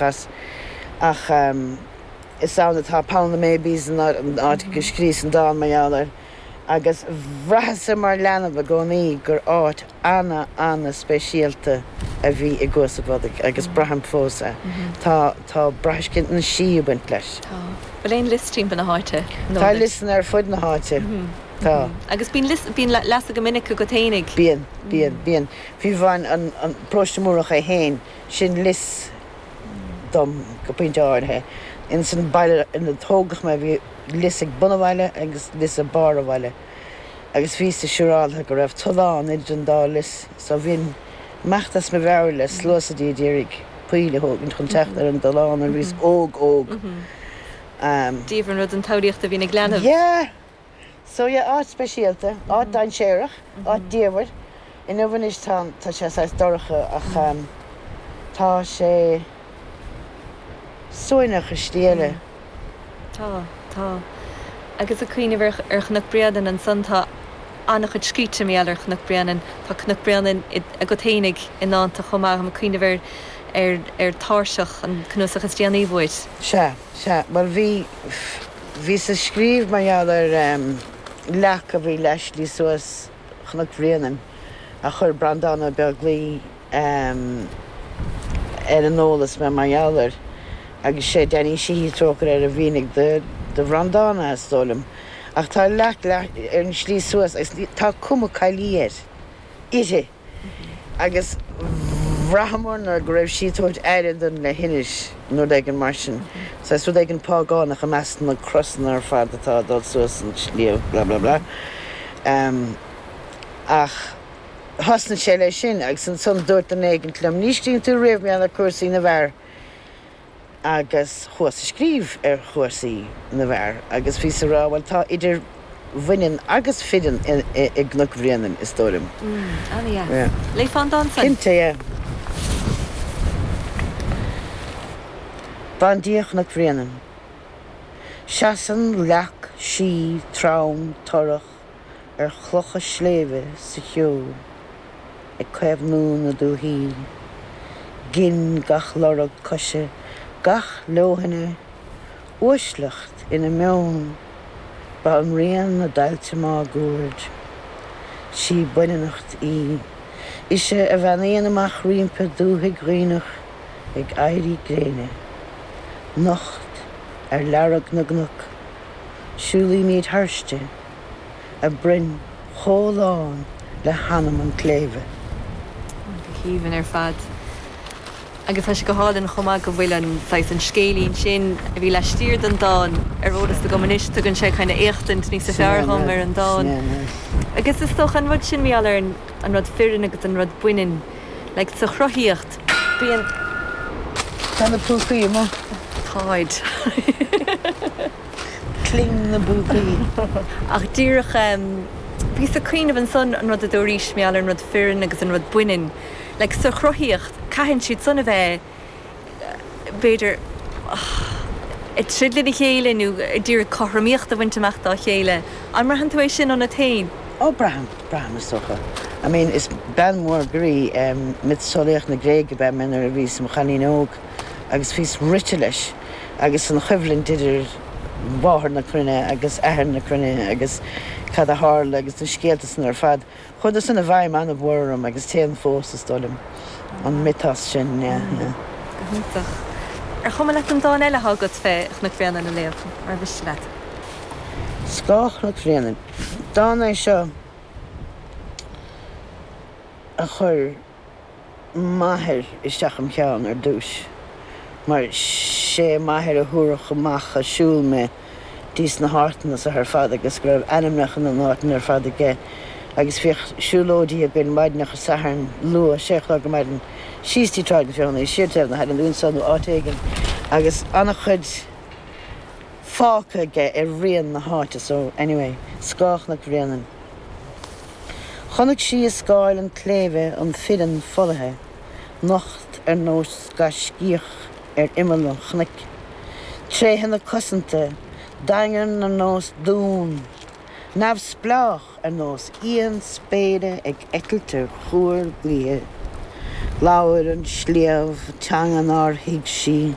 As ach is ann atá Pound na Maybes, an áit go scríos an dán mar gheall air, agus bhraitheas-sa mar leanbh i gcónaí gur áit ana ana speisialta a bhí i gCuas a' Bhodaigh agus braithim fós é. Tá tá brathscint na sí ag baint leis. Tá. Bhfuil aon lios timpeall na háite? Tá liosanna ar fud na háite. Tá. Agus bíonn lios, bíonn leasa go minic agat fhéinig? Bíonn, bíonn, bíonn. Fiú amháin an an Paróiste Múrach é fhéin, sin lios dom go pointe áirithe. Ins an baile ina tógadh mé bhí lios ag bun an bhaile agus lios ag barr an bhaile agus bhíos siúráltha go raibh tollán idir an dá lios so bhínn imeacht as mo mheabhair le sluasaidí a d'iarraidh poill a thógaint chun teacht ar an dtollán nuair a bhíos óg óg. Diamhair an rud an tsamhlaíocht a bhíonn ag leanbh. Yeah! So yeah, áit speisialta, áit dainséarach, áit diamhair. Inniu anois tá, tá sé saghas dorcha ach tá sé suaimhneach i slí eile. Tá, tá. Agus ag cuimhneamh ar, ar Chnoc Bréanainn ansan tá an-chuid scríte mar gheall ar Chnoc Bréanainn. Tá Cnoc Bréanainn agat fhéinig i ndánta chomh maith. Táim ag cuimhneamh ar, ar, ar Tairseach, an cnuasach is déanaí uait. Sea, sea. Bhuel bhí, Bhíos ag scríobh mar gheall ar leac a bhí leath slí suas Chnoc Bhréanainn a chuir Breandán Ó Beaglaoi ar an eolas mé mar gheall air agus sé Danny Sheehy, trócaire air, a mhínigh do Bhreandán é, is dóigh liom. Ach tá leac ar an slí suas agus tá cuma caillí air, uirthi. Agus bhraitheamar nuair go raibh sí ag tabhairt aire don leithinis nó rud éigin mar sin. Saghas rud éigin págánach i measc na crosanna ar fad atá ag dul suas an sliabh blah blah blah. Ach thosnaigh sé leis sin agus ansan dúirt duine éigint liom, ní scríobhann tú riamh mar gheall ar cúrsaí na bhfear. Agus chuas a scríobh ar chúrsaí na bhfear agus bhíos a rá, bhuel tá idir bhaineann agus fireann i gCnoc Bhréanainn, is dóigh liom. Ana-dheas. Léifeá an dán san? Cinnte, yeah. Bandia Chnoc Bhréanainn. Seasann leac sí trom torrach ar chlocha sléibhe sa cheo, ag caomhnú na dúthaí. Gin gach lorg coise, gach leoithne, uaisleacht ina meon, banríon na dtailte máguaird. Sí baineannacht í. Ise a bheannaíonn amach roimpi dúthaigh Dhuibhneach ag éirí gréine. Nocht ar learg na gcnoc, siúlaímid thairsti. a broinn chomh lán le hanam an tsléibhe. Go haoibhinn ar fad. Agus tá sé go hálainn chomh maith go bhfuil an saghas, an scéilín sin a bhí laistiar den dán ar eolas agam anois, tugann sé kind of éachtaint níosa fearr dhom ar an dán. Agus is dócha an rud sin mar gheall ar an rud fireann agus an rud baineann, like sa chruthaíocht, bíonn. Tá na púcaí amuigh. Táid. Cling na bpúcaí. Ach díreach, bhíos ag cuimhneamh ansan an rud a dúraís mar gheall ar an rud fireann agus an rud baineann. Like sa chruthaíocht, caitheann siad san a bheith, b'fhéidir, ag troid lena chéile nó ag iarraidh cothromaíocht a bhaint amach dá chéile. An mbraitheann tú é sin ionat féin? Ó, braithim, braithim is dócha. I mean, is bean mhór groí, miotaseolaíocht na Gréige ab ea mé nuair a bhíos i mo chailín óg. agus bhíos rite leis agus an choimhlint idir mháthair na cruinne agus athair na cruinne agus cad a tharla agus na scéalta san ar fad. Chuadar san i bhfeidhm an-mhór orm agus téann fós, is dóigh liom, an miotas sin, yeah, yeah. Go hiontach. Ar chuma leat an dán eile atá agat fé Chnoc Bhréanainn a léamh, mar mhiste leat? Scáth Chnoc Bhréanainn. Dán é seo a chuir. m'athair isteach im cheann ar dtúis mar sé m'athair a thabharfadh amach a' siúl mé dtís na háiteanna so ar fad agus go raibh ainmneacha na n-áiteanna ar fad aige agus bhíodh siúlóidí againn maidineacha Sathairn luath, sé a chlog ar maidin, síos dtí Tráigh na Feothanaí, siar taobh na hAille nó anso nó áit éigin agus an-chuid fágtha aige ar rian na háite so anyway, Scáth Chnoc Bhréanainn. Chonaic sí i scáil an tsléibhe an fireann folaithe, nocht ar nós gaiscíoch ar imeall an chnoic. Tréithe na cosanta, daingean ar nós dún, neamhspleách ar nós éan spéire ag eitilt ar chuar gaoithe. Labhair an sliabh teanga nár thuig sí.